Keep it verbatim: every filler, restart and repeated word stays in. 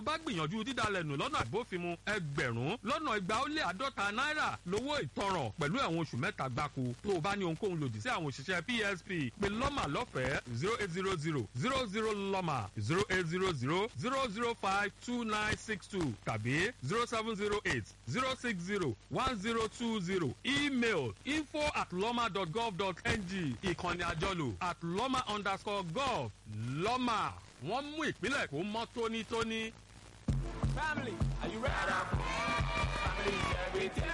o bá gbìyànjú dídalẹ̀ nù lọ́nà àbófinmu, ẹgbẹ̀rún lọ́nà igba ó lé àádọ́ta náírà lówó ìtanràn pẹ̀lú ẹ̀wọ̀n oṣù mẹ́ta gbáko. Tó o bá ní ohunkóhun lòdì sí àwọn òṣìṣẹ́ P S P, pé LỌ́MÀ lọ́fẹ̀ẹ́ zero eight zero zero zero zero LỌ́MÀ zero eight zero zero zero zero five two nine six two tàbí zero seven zero eight zero six zero one zero two zero. Email info at lọ́mà dot gov dot ng. Ìkànnì àjọlò at lọ́mà underscore gov. LỌ́MÀ, wọ́n mú ìpínlẹ̀ Èkó mọ́ tónítóní. Family, are you ready? Family is everything.